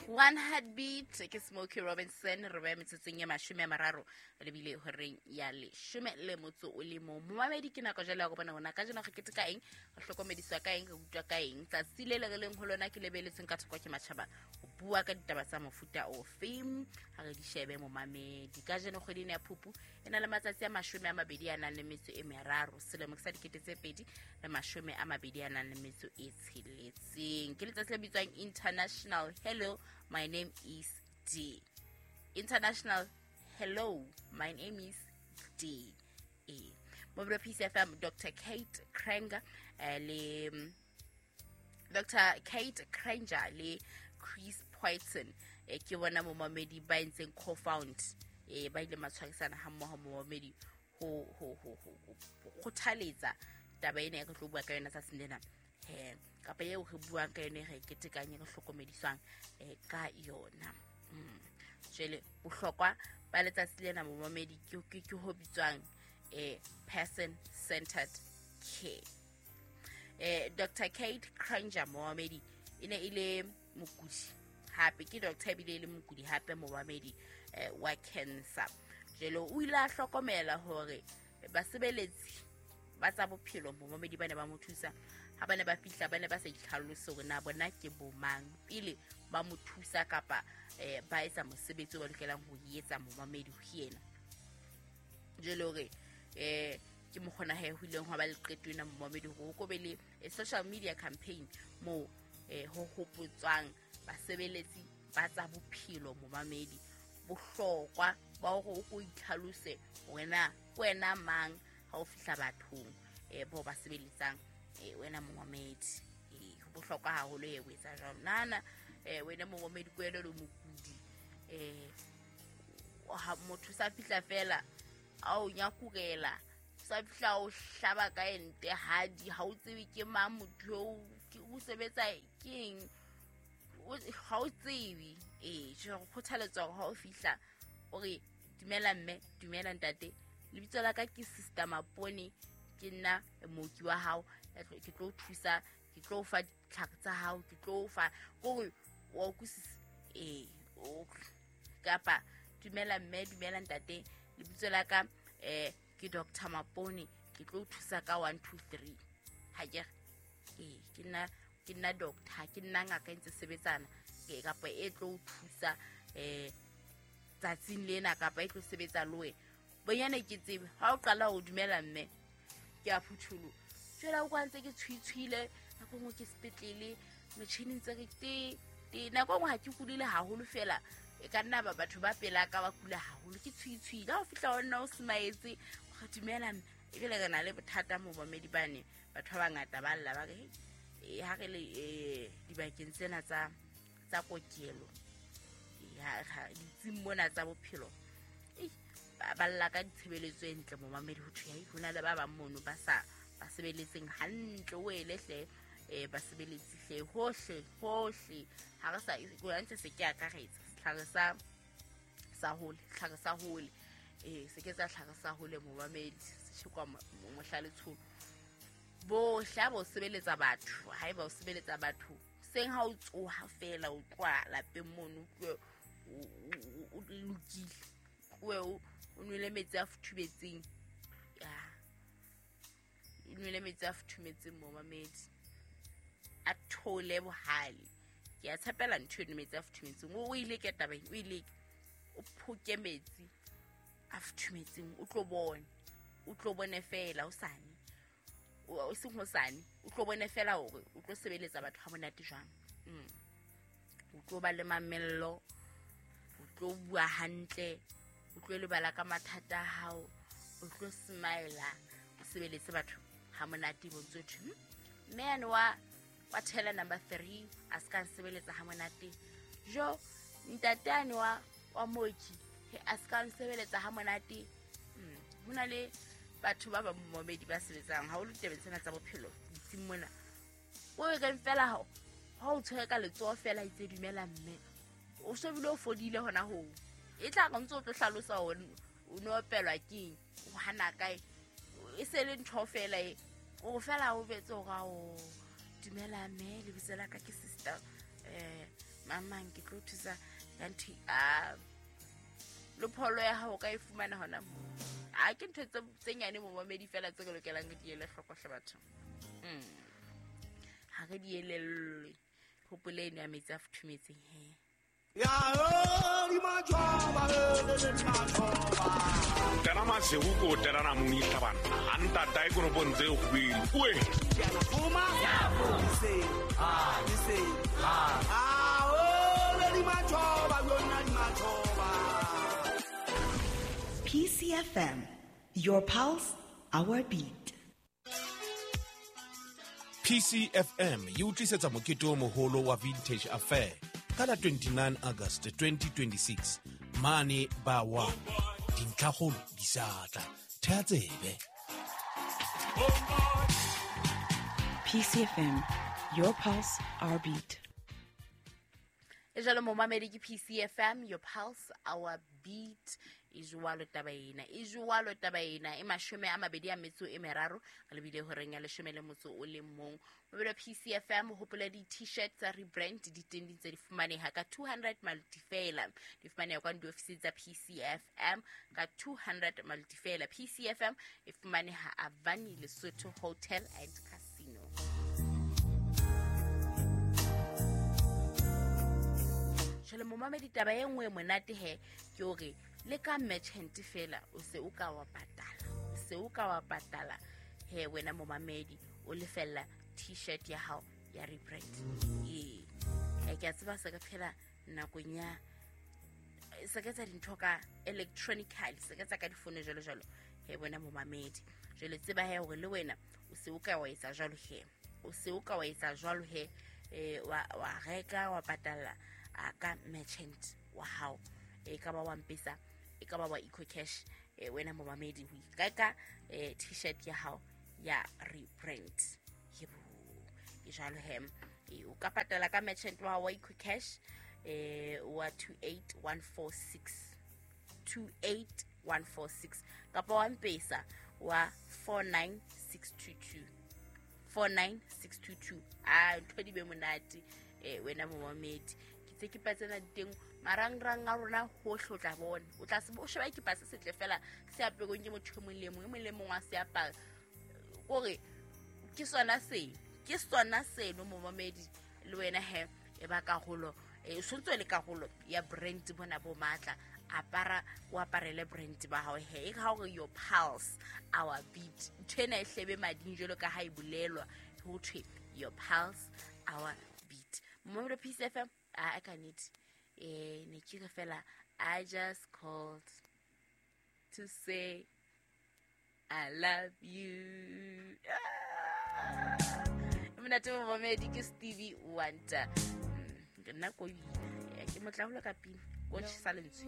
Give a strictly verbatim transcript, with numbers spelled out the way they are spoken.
One Heartbeat ke Smokey Robinson. Re beya metsotsong ya mashome a mararo lebile horeng ya leshome le motso o le mong. Momamedi, ke nako jwale ya go bona hona ka jeno re keteka eng, re hlokomediswa ka eng, re utlwa ka eng. Tsatsi le le re leng ho lona ke lebeletseng ka thoko ke matjhaba ho bua ka ditaba tsa mofuta ofe. Ha re di shebe momamedi. Ka jeno kgwedi ena ya Phupu e na le matsatsi a mashome a mabedi a nang le metso e meraro, selemo sa dikete tse pedi le mashome a mabedi a nang le metso e tsheletseng. Ke letsatsi le bitswang International Hello My Name Is D. International Hello My Name Is D. E. Mobile Peace F M, Doctor Kate Kranger eh, le Doctor Kate Kranger le Chris Poyton eh, ke bona momamedi ba entseng co-found eh, ba ile matshwarisana ha mmoho momamedi ho ho ho ho kgothaletsa taba ena e re tlo bua ka yona tsatsing lena. Eh, kapa eo re buang ka yone re ketekanye re hlokomediswang eh, ka yona. Mm. Jwale bohlokwa ba letsatsi lena momamedi ke ke ke ho bitswang eh, person centered care. Eh, Doctor Kate Kranger momamedi e ne e le mokudi hape ke doctor ebile e le mokudi hape momamedi eh, wa cancer. Jwale o ile a hlokomela hore basebeletsi ba tsa bophelo momamedi ba ne ba mo thusa ha ba ne ba fihla ba ne ba sa itlhalose hore na bona ke bomang pele ba mo thusa kapa eh, ba etsa mosebetsi o ba lokelang ho etsa momamedi ho yena. Jwale hore eh, ke mokgona he ho ileng hwa ba le qeto ena momamedi hore ho ko be le social media campaign moo eh, ho hopotswang basebeletsi ba tsa bophelo momamedi bohlokwa ba hore o ko itlhalose hore na ke wena mang ha o fihla bathong eh, bao ba sebeletsang eh, wena momamedi. Eh, ho bohlokwa haholo e o etsa jwalo. Nahana eh, wena momamedi ke wena o le mokudi eh, ha motho sa fihla fela a o nyakurela, sa fihla o hlaba ka ente hadi, ha o tsebe ke mang motho eo, ke o sebetsa keng, ha o tsebe. Eh, jwale re kgothaletswa hore ha o fihla o re dumela mme, dumela ntate, lebitso la ka ke Sister Mapone, ke nna mooki wa hao, ke tlo thusa, ke tlo fa ditlhare tsa hao, ke tlo fa kore wa utlwisisa. Eh, kapa dumela mme, dumela ntate, lebitso la ka eh ke Doctor Mapone, ke tlo thusa ka one two three. Ha ke re eh ke nna ke nna doctor, ke nna ngaka e ntse sebetsana kapa e tlo thusa eh tsatsing lena kapa e tlo sebetsa le wena. Bonyane ke tsebe ha o qala ho dumela mme ke a phutholo. Jwale o kwa ntse ke tshwitshwile nako nngwe ke sepetlele metjhining tse re te te nako nngwe ha ke kulile haholo fela e ka nna ba batho ba pela ka ba kula haholo ke tshwitshwile. Ha o fihla ho nna o smaetse o dumela mme, ebile re na le bothata mo bamedi bane batho ba bangata ba lla ba re e ha re le dibakeng tsena tsa tsa kokelo ya ditsing mona tsa bophelo ba lla ka ditshebeletso e ntle momamedi ho thwe ho na le ba bang mono ba sa ba sebeletseng hantle o ele hle eh ba sebeletsi hle hohle hohle ha re sa go ntse se ke akaretsa setlhare sa sa hole tlhare sa hole eh se ke tsa tlhare sa hole momamedi se tshekwa mohla letsholo bohle ha bo sebeletsa batho ha eba o sebeletsa batho seng ha o tsoha fela o tloha lapeng mono o o lokile o o nwele metsi a futhumetseng ya o nwele metsi a futhumetseng momamedi a thole bohale. Ke a tshepela ntho eno metsi a futhumetseng o ile ke tabeng o ile o phoke metsi a futhumetseng o tlo bone o tlo bone fela o sane o seng ho sane o tlo bone fela hore o tlo sebeletsa batho ha monate jwang. Mm. O tlo ba le mamello, o tlo bua hantle, o tlo lebala ka mathata a hao, o tlo smile o sebeletse batho ha monate bontso thwe. Mme ane wa wa thela number three a ska nsebeletsa ha monate. Jo ntate ane wa wa mooki a ska nsebeletsa ha monate. Mm. Hona le batho ba ba momedi ba sebetsang ha o le tabeng tsena tsa bophelo ditsing mona o e reng fela ha ha o tshwere ka letsoho fela itse dumela mme o so bile o fodile hona ho e tla re ntse o tlo hlalosa hore o no opelwa keng o hana kae e se le ntho fela e o fela o betse hore o dumela mme lebitso la ka ke sister eh Mamang ke tlo thusa ka ntho a le pholo ya hao ka e fumana hona mo. A ke ntho tse tse nyane momamedi fela tse ke lokelang di ele hloko hle batho. Mm. Ha re di elellwe. Hopole eno ya metsi a futhumetseng he. Ya di majoba le majoba. Tena masego ko tena mong itlhabana. Anta dai kono bontse go bile. Oe. Fuma. Se. Ah, se. Ah. Ah, o le di majoba yona di majoba. P C F M, your pulse, our beat. P C F M e utlisetsa mokete o moholo wa Vintage Affair ka la twenty-nine August twenty twenty-six mane ba wa dintlhakgolo di sa tla thea tsebe. P C F M, your pulse, our beat. E jalo momamedi ke P C F M, your pulse, our beat. E jwalo taba ena, e jwalo taba ena, e mashome a mabedi a metso e meraro, re lebile horeng ya leshome le motso o le mong. Mobile P C F M, hopola di t-shirt tsa rebrand di teng di ntse di fumaneha ka two hundred maloti fela. Di fumaneha kwa diofising tsa P C F M ka two hundred maloti fela. P C F M e fumaneha Avani Lesotho Hotel and Casino. Jwale momamedi taba e nngwe monate he ke hore le ka merchant fela o se o ka wa patala, o se o ka wa patala he wena momamedi o lefella t-shirt ya hao ya rebrand. Ee, ke a tseba se ka phela nakong ya se ka etsa dintho ka electronically, se ka etsa ka difono jwalo jwalo he wena momamedi. Jwale tseba he hore le wena o se o ka wa etsa jwalo he, o se o ka wa etsa jwalo he, eh wa wa reka wa patala a ka merchant wa hao, e ka ba wa M-Pesa, e ka ba wa EcoCash, e wena momamedi ho ikaka e t-shirt ya hao ya rebrand. Yebo, ke jwalo he, e o ka patala ka merchant wa hao wa EcoCash eh wa two eight one four six, two eight one four six, kapa wa M-Pesa wa four nine six two two, four nine six two two. A ntho di be monate eh wena momamedi. Tse ke patsena teng marangrang a rona hohle o tla bona, o tla se o sheba ke patse setle fela se aperong ke motho e mong le mong, e mong le mong wa se apara kore ke sona se ke sona seno momamedi. Le wena he e ba karolo, e sontso le karolo ya brand bona bo matla, apara o aparele brand ba hao he, e ka hore your pulse our beat, ntho ena e hlebe mading jwalo ka ha e bolelwa ho thwe your pulse our beat. Momamedi P C F M, I can it. Eh, ne ke re fela I just called to say I love you. Mina te momamedi ke Stevie Wonder. Nna ko ina ke motla holo ka pina ko tshisa lentswe.